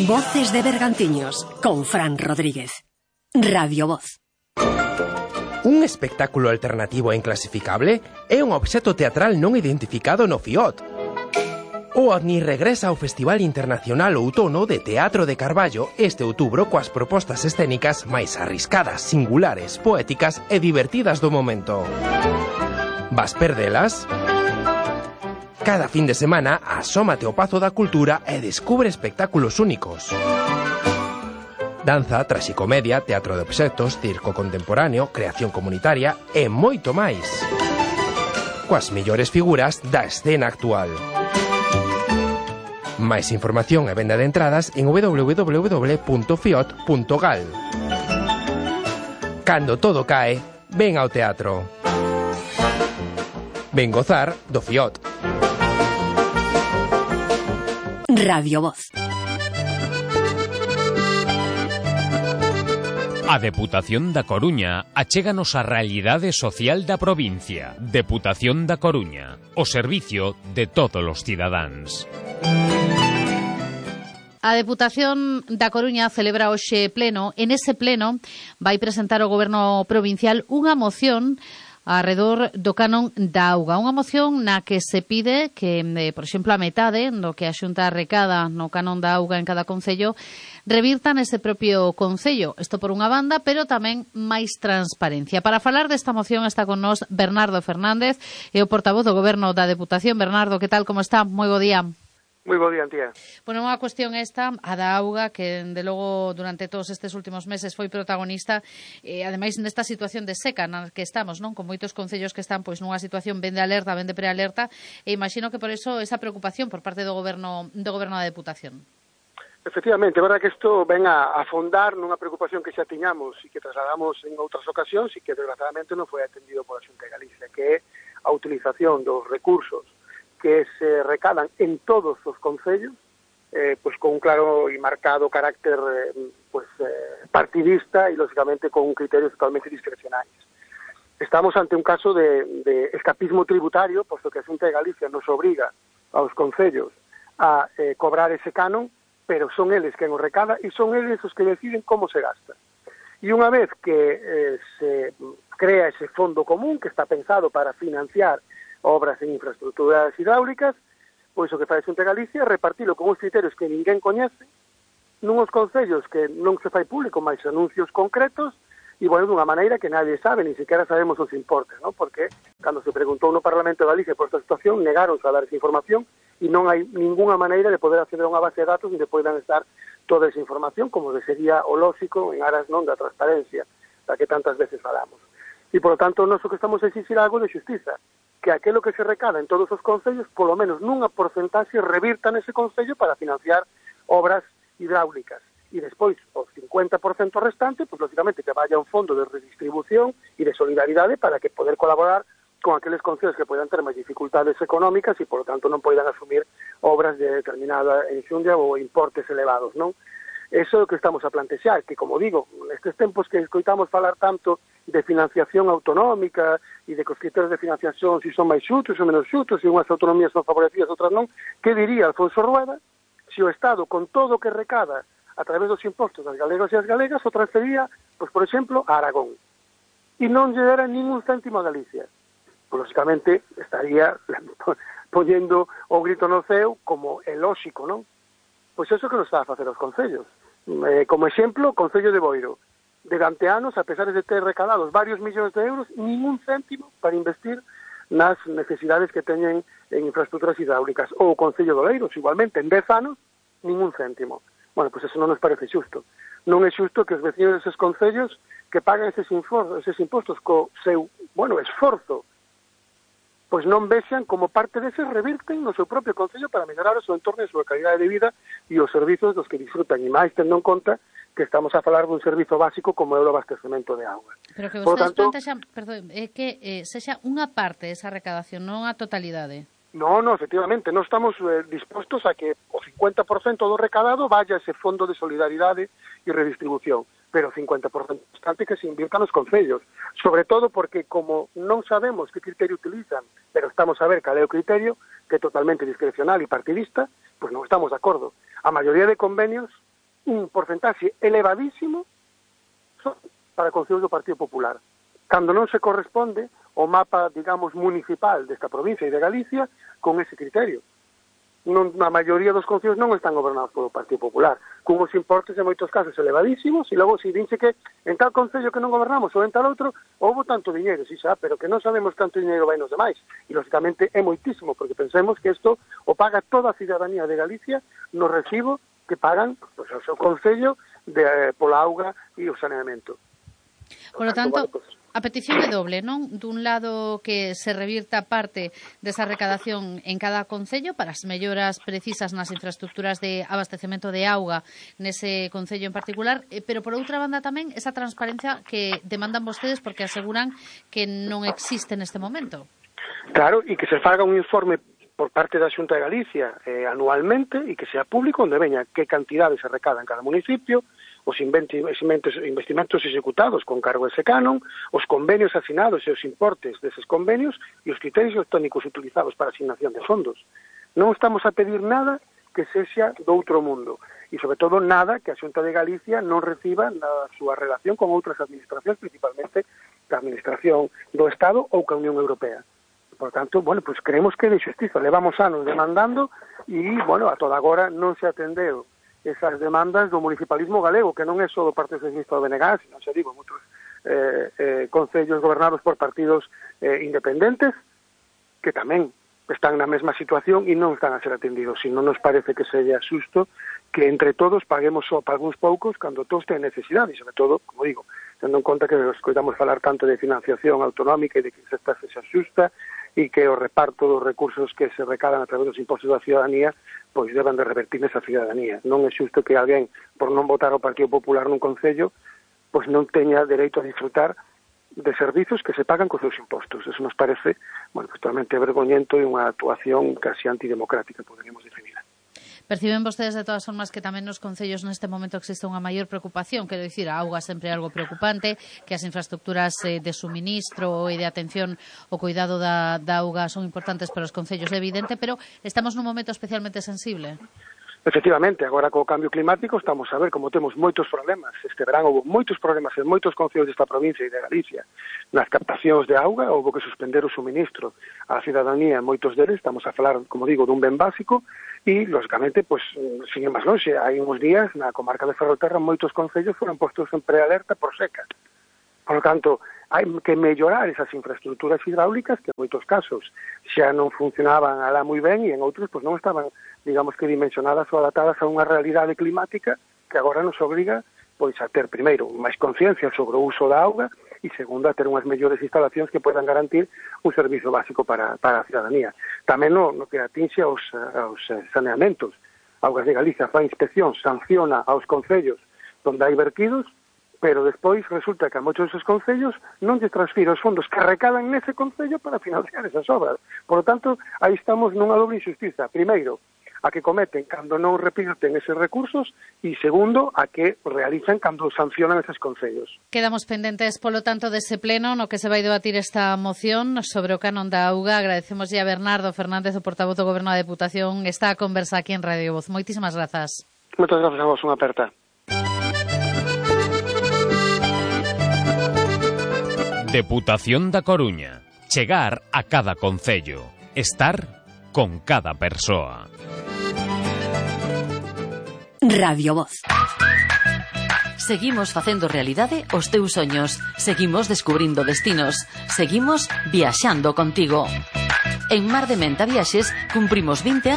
Voces de Bergantiños, con Fran Rodríguez. Radio Voz. Un espectáculo alternativo e inclasificable é un obxecto teatral non identificado no FIOT. O OVNI regresa ao Festival Internacional Outono de Teatro de Carballo este outubro coas propostas escénicas máis arriscadas, singulares, poéticas e divertidas do momento. Vas perdelas? Cada fin de semana asómate ao Pazo da Cultura e descubre espectáculos únicos. Danza, traxicomedia, teatro de obxectos, circo contemporáneo, creación comunitaria e moito máis. Coas mellores figuras da escena actual. Máis información e venda de entradas en www.fiot.gal. Cando todo cae, ven ao teatro. Ven gozar do FIOT. Radio Voz. A Deputación da Coruña achéganos a realidade social da provincia. Deputación da Coruña, o servicio de todos os cidadáns. A Deputación da Coruña celebra hoxe pleno. En ese pleno vai presentar o Goberno provincial unha moción arredor do canon da auga. Unha moción na que se pide que, por exemplo, a metade do que a Xunta recada no canon da auga en cada concello revirta nese propio concello. Isto por unha banda, pero tamén máis transparencia. Para falar desta moción está con nós Bernardo Fernández, e o portavoz do Goberno da Deputación. Bernardo, que tal, como está? Moi bo día. Moi bo día, Antía. Bueno, unha cuestión esta, a da auga, que de logo durante todos estes últimos meses foi protagonista, ademais nesta situación de seca na que estamos, non? Con moitos concellos que están pois nunha situación ben de alerta, ben de prealerta, e imagino que por eso esa preocupación por parte do Goberno da Deputación. Efectivamente, é verdad que isto ven a afondar nunha preocupación que xa tiñamos e que trasladamos en outras ocasións e que desgraciadamente non foi atendido pola Xunta de Galicia, que é a utilización dos recursos que se recadan en todos os concellos, pues con un claro e marcado carácter partidista e, lógicamente, con criterios totalmente discrecionales. Estamos ante un caso de escapismo tributario, posto que a Xunta de Galicia nos obriga aos concellos a cobrar ese canon, pero son eles quen o recada e son eles os que deciden como se gasta. E unha vez que se crea ese fondo común que está pensado para financiar obras en infraestructuras hidráulicas, pois o que fai a Xunta de Galicia é repartilo con uns criterios que ninguén coñece, nuns concellos que non se fai público máis anuncios concretos, e, bueno, dunha maneira que nadie sabe, ni sequera sabemos os importes, ¿no? Porque cando se preguntou no Parlamento de Galicia por esta situación, negaronse a dar esa información, e non hai ninguna maneira de poder acceder a unha base de datos onde poidan estar toda esa información, como sería o lóxico en aras non da transparencia, da que tantas veces falamos. E, por lo tanto, nós o que estamos a exixir algo de xustiza, que aquilo que se recada en todos os concellos, polo menos nunha porcentaxe, revirta nese concello para financiar obras hidráulicas. E despois, o 50% restante, pues, lógicamente, que vaya a un fondo de redistribución e de solidaridade para que poder colaborar con aqueles concellos que poidan ter máis dificultades económicas e, por lo tanto, non poidan asumir obras de determinada enxundia ou importes elevados, non? Eso é o que estamos a plantexar, que, como digo, nestes tempos que escoitamos falar tanto de financiación autonómica e de que os criterios de financiación si son máis xutos ou menos xutos, se unhas autonomías son favorecidas, outras non, que diría Alfonso Rueda se o Estado, con todo o que recada a través dos impostos das galegos e as galegas, o transfería, pois, por exemplo, a Aragón. E non lle dera ningún céntimo a Galicia. Pois, lógicamente, estaría poñendo o grito no ceo como é lóxico, non? Pois eso que nos está a facer os concellos. Como exemplo, o Concello de Boiro. Durante anos, a pesar de ter recadados varios millóns de euros, ningún céntimo para investir nas necesidades que teñen en infraestructuras hidráulicas. Ou o Concello de Oleiros, igualmente, en 10 anos, ningún céntimo. Bueno, pois eso non nos parece xusto. Non é xusto que os vecinos deses concellos que pagan eses impostos co seu, esforzo, pois non vexan como parte deses revirten no seu propio concello para mellorar o seu entorno e a súa calidade de vida e os servizos dos que disfrutan, e máis tendo en conta que estamos a falar dun servizo básico como é o abastecemento de auga. Pero que vostedes plantexan, perdón, é que sexa unha parte desa recadación, non a totalidade. No, efectivamente, non estamos dispostos a que o 50% do recadado vaya a ese fondo de solidaridade e redistribución, pero o 50% restante que se invirta nos concellos, sobre todo porque como non sabemos que criterio utilizan, pero estamos a ver cal é o criterio, que é totalmente discrecional e partidista, pois non estamos de acordo. A maioría de convenios, un porcentaxe elevadísimo son para concellos do Partido Popular. Cando non se corresponde o mapa, digamos, municipal desta provincia e de Galicia con ese criterio. A maioría dos concellos non están gobernados polo Partido Popular, con os importes en moitos casos elevadísimos, e logo se dinse que en tal concello que non gobernamos ou en tal outro, houbo tanto diñeiro, sí, xa, pero que non sabemos canto diñeiro vai nos demais. E, lógicamente, é moitísimo, porque pensemos que isto o paga toda a cidadanía de Galicia no recibo que pagan pues, o seu concello pola auga e o saneamento. Por lo tanto, a petición é doble, non? Dun lado que se revirta parte desa recadación en cada concello para as melloras precisas nas infraestructuras de abastecemento de auga nese concello en particular, pero por outra banda tamén esa transparencia que demandan vostedes porque aseguran que non existe neste momento. Claro, e que se faga un informe por parte da Xunta de Galicia anualmente e que sea público onde veña que cantidade se recada en cada municipio, os investimentos executados con cargo a ese canon, os convenios asinados e os importes deses convenios e os criterios técnicos utilizados para a asignación de fondos. Non estamos a pedir nada que sexa do outro mundo e, sobre todo, nada que a Xunta de Galicia non reciba na súa relación con outras administracións, principalmente a Administración do Estado ou ca Unión Europea. Por tanto, bueno, pues creemos que é de xustiza. Levamos anos demandando e, bueno, a toda agora non se atendeu esas demandas do municipalismo galego, que non é só do Partido Socialista do BNG, sino, xa digo, moitos concellos gobernados por partidos independentes, que tamén están na mesma situación e non están a ser atendidos. E non nos parece que seja xusto que entre todos paguemos só para algúns poucos cando todos ten necesidade, e, sobre todo, como digo, tendo en conta que escoitamos falar tanto de financiación autonómica e de que esta sexa xusta e que o reparto dos recursos que se recadan a través dos impostos da ciudadanía pois deban de revertir nesa ciudadanía. Non é xusto que alguén, por non votar ao Partido Popular nun concello, pois non teña dereito a disfrutar de servizos que se pagan cos seus impostos. Eso nos parece, bueno, totalmente vergoñento e unha actuación casi antidemocrática, poderíamos definirla. Perciben vostedes de todas formas que tamén nos concellos neste momento existe unha maior preocupación, quero dicir, a auga sempre é algo preocupante, que as infraestructuras de suministro e de atención ao cuidado da auga son importantes para os concellos, é evidente, pero estamos nun momento especialmente sensible. Efectivamente, agora co cambio climático estamos a ver como temos moitos problemas. Este verán houve moitos problemas en moitos concellos desta provincia e de Galicia. Nas captacións de auga houve que suspender o suministro á cidadanía en moitos deles. Estamos a falar, como digo, dun ben básico e, lógicamente, pues, sin ir máis longe, hai uns días na comarca de Ferrolterra moitos concellos foron postos en prealerta por seca. Por lo tanto, hai que mellorar esas infraestructuras hidráulicas que en moitos casos xa non funcionaban alá moi ben e en outros pues, non estaban, digamos que dimensionadas ou adaptadas a unha realidade climática que agora nos obriga pois a ter, primeiro, máis conciencia sobre o uso da auga e, segundo, a ter unhas mellores instalacións que podan garantir un servizo básico para a ciudadanía. Tamén no que atinxe aos saneamentos. Augas de Galicia fa inspección, sanciona aos concellos onde hai vertidos, pero despois resulta que a moitos deses concellos non lle transfira os fondos que recadan nese concello para financiar esas obras. Por lo tanto, aí estamos nunha doble injustiza. Primeiro, a que cometen cando non repiten eses recursos e, segundo, a que realizan cando sancionan eses concellos. Quedamos pendentes, polo tanto, dese pleno no que se vai debatir esta moción sobre o canon da auga. Agradecemos a Bernardo Fernández, o portavoz do Goberno da Deputación, está a conversa aquí en Radio Voz. Moitísimas grazas. Moitas grazas a vos, unha aperta. Deputación da Coruña. Chegar a cada concello. Estar con cada persoa. Radio Voz. Seguimos facendo realidade os teus soños. Seguimos descubrindo destinos. Seguimos viaxando contigo. En Mar de Menta Viaxes cumprimos 20 anos